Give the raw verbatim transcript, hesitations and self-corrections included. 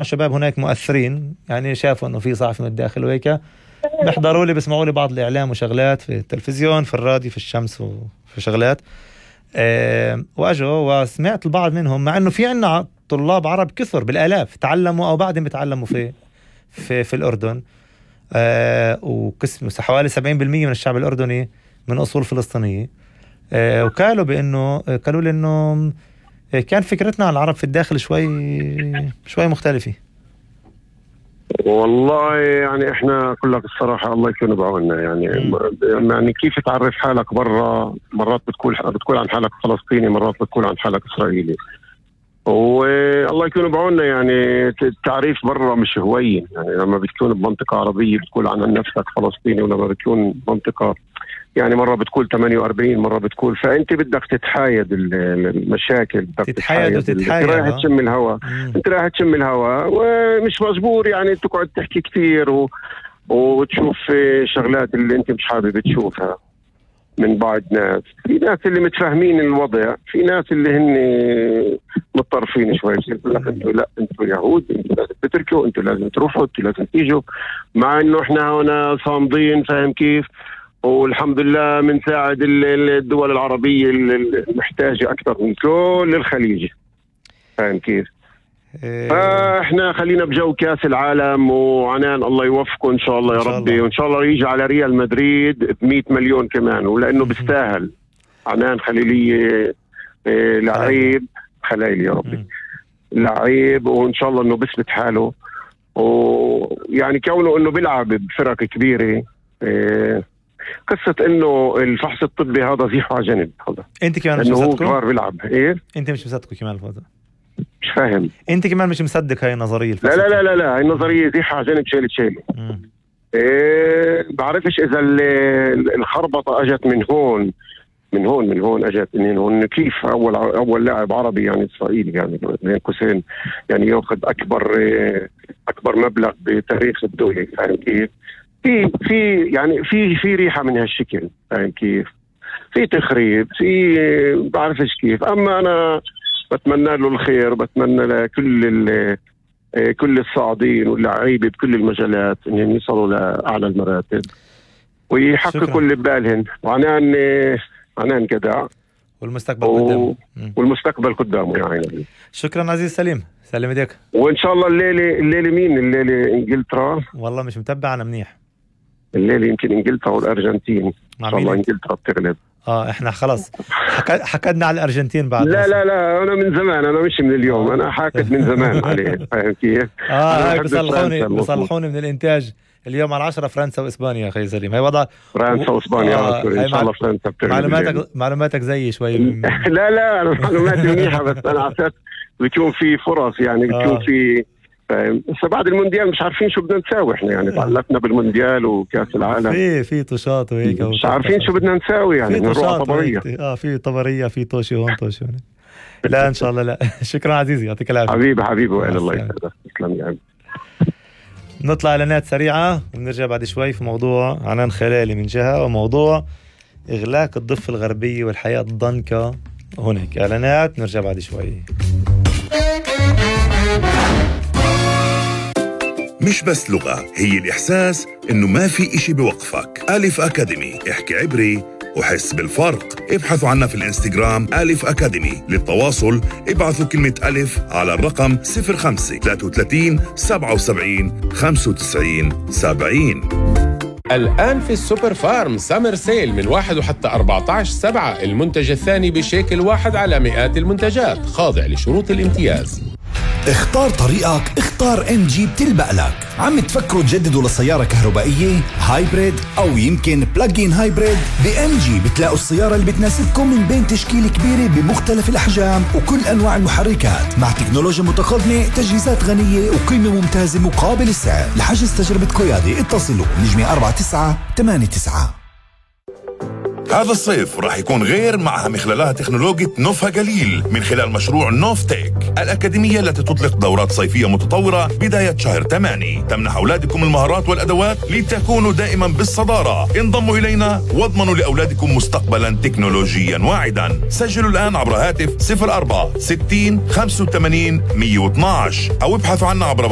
الشباب هناك مؤثرين، يعني شافوا انه في صحفي من الداخل وهيك بيحضروا لي بيسمعوا لي بعض الاعلام وشغلات في التلفزيون في الراديو في الشمس وفي شغلات أه واجوا وسمعت البعض منهم، مع انه في عنا طلاب عرب كثر بالالاف تعلموا او بعدهم بيتعلموا في في في الاردن، أه وقسم حوالي سبعين بالمية من الشعب الاردني من اصول فلسطينيه. أه وقالوا بانه قالوا لي انه كان فكرتنا عن العرب في الداخل شوي شوي مختلفة. والله يعني احنا كلك الصراحة الله يكون بعوننا، يعني م. يعني كيف تعرف حالك برا، مرات بتقول بتقول عن حالك فلسطيني، مرات بتقول عن حالك إسرائيلي، والله يكون بعوننا. يعني التعريف برا مش هوين، يعني لما بتكون بمنطقة عربية بتقول عن نفسك فلسطيني، ولما بتكون بمنطقة يعني مرة بتقول ثمانية وأربعين، مرة بتقول، فأنت بدك تتحايد المشاكل، بدك تتحايد وتتحايد، انت رايح تشم الهواء، انت رايح تشم الهواء ومش مجبور يعني تقعد تحكي كتير و... وتشوف شغلات اللي انت مش حابب تشوفها من بعض ناس. في ناس اللي متفاهمين الوضع، في ناس اللي هن متطرفين شوي، يقول لك انتوا لا انتوا يهود، انتوا لازم تتركوا، انتوا لازم تروحوا، انتوا لازم تيجوا، مع انه احنا هنا صامدين، فاهم كيف؟ والحمد لله بنساعد الدول العربية المحتاجة أكثر من كل الخليج، فاهم كيف؟ إيه. فإحنا خلينا بجو كاس العالم، وعنان الله يوفقه إن شاء الله يا ربي، وإن شاء الله يجي على ريال مدريد بمئة مليون كمان، ولأنه بيستاهل عنان خليلية. إيه لعيب خليلي يا ربي، لعيب، وإن شاء الله إنه بثبت حاله، ويعني كونه إنه بيلعب بفرق كبيرة. إيه قصة انه الفحص الطبي هذا زيحه على جنب، هذا انت كمان مش مصدقه؟ هو بيلعب ايه؟ انت مش مصدقه كمان الفوضى؟ مش فاهم. انت كمان مش مصدق هاي النظرية؟ لا لا لا لا لا هاي النظرية زيحه على جنب، شيلة شيلة. ايه بعرفش اذا الخربطة اجت من هون من هون من هون اجت من هون، كيف اول اول لاعب عربي يعني اسرائيلي يعني بين قوسين يعني ياخذ اكبر اكبر مبلغ بتاريخ الدولة، فاهم كيف؟ في في يعني في في ريحة من هالشكل، فاهم كيف؟ في تخريب، في بعرفش كيف. أما أنا بتمنى له الخير، بتمنى لكل كل الصاعدين واللاعبين بكل المجالات إنهم يصلوا لأعلى المراتب ويحققوا اللي ببالهم، وعنان عنان جدع، والمستقبل و... قدامه والمستقبل قدامه يعني. شكرا عزيز سليم، سلم ايديك. وإن شاء الله الليلة الليلة مين الليلة؟ إنجلترا؟ والله مش متابع أنا منيح. الليلة يمكن إنجلترا والأرجنتين، إن شاء الله إنجلترا بتغلب. آه إحنا خلاص حك... حكدنا على الأرجنتين بعد. لا لا لا أنا من زمان، أنا مش من اليوم، أنا حاكد من زمان عليه، فاهم كيف؟ آه هاي بصلحوني بصلحوني من الإنتاج اليوم على عشرة، فرنسا وإسبانيا يا أخي سليم، هاي وضع فرنسا وإسبانيا. آه إن شاء الله فرنسا بتغلب. معلوماتك معلوماتك زي شوي. لا لا أنا معلوماتي منيحة، بس أنا عسات بيكون في فرص يعني، بيكون آه. في فاهم. بس بعد المونديال مش عارفين شو بدنا نساوي احنا، يعني تعلقنا بالمونديال وكاس العالم، في في طشات وهيك، مش عارفين شو بدنا نساوي يعني، نروح طبريه. اه في طبريه، في طوشي هون طوشي هون. لا ان شاء الله. لا شكرا عزيزي، يعطيك العافيه حبيبي حبيبي، والى الله يسعدك، تسلم يا عمي. نطلع اعلانات سريعه ونرجع بعد شوي في موضوع عنان خلالي من جهه، وموضوع اغلاق الضفه الغربيه والحياه الضنكه هناك. اعلانات نرجع بعد شوي. مش بس لغة، هي الإحساس إنه ما في إشي بوقفك. ألف أكاديمي، احكي عبري وحس بالفرق. ابحثوا عنا في الانستغرام ألف أكاديمي. للتواصل ابعثوا كلمة ألف على الرقم صفر خمسة ثلاثة وثلاثين سبعة وسبعين خمسة وتسعين سبعين. الآن في السوبر فارم سامر سيل من واحد وحتى أربعة عشر سبعة، المنتج الثاني بشيكل واحد على مئات المنتجات، خاضع لشروط الامتياز. اختار طريقك، اختار ام جي بتلبق لك. عم تفكروا تجددوا لسيارة كهربائية هايبريد او يمكن بلاجين هايبريد؟ بام جي بتلاقوا السيارة اللي بتناسبكم من بين تشكيل كبيرة بمختلف الاحجام وكل انواع المحركات، مع تكنولوجيا متقدمة، تجهيزات غنية وقيمة ممتازة مقابل السعر. لحجز تجربة قيادة اتصلوا نجمة أربعة تسعة ثمانية تسعة. هذا الصيف راح يكون غير معها من خلالها تكنولوجيا نوفها جليل من خلال مشروع نوف تيك، الأكاديمية التي تطلق دورات صيفية متطورة بداية شهر ثمانية تمنح أولادكم المهارات والأدوات لتكونوا دائما بالصدارة. انضموا إلينا واضمنوا لأولادكم مستقبلا تكنولوجيا واعدا. سجلوا الآن عبر هاتف صفر أربعة ستين خمسة وثمانين مية واثناشر أو ابحثوا عنا عبر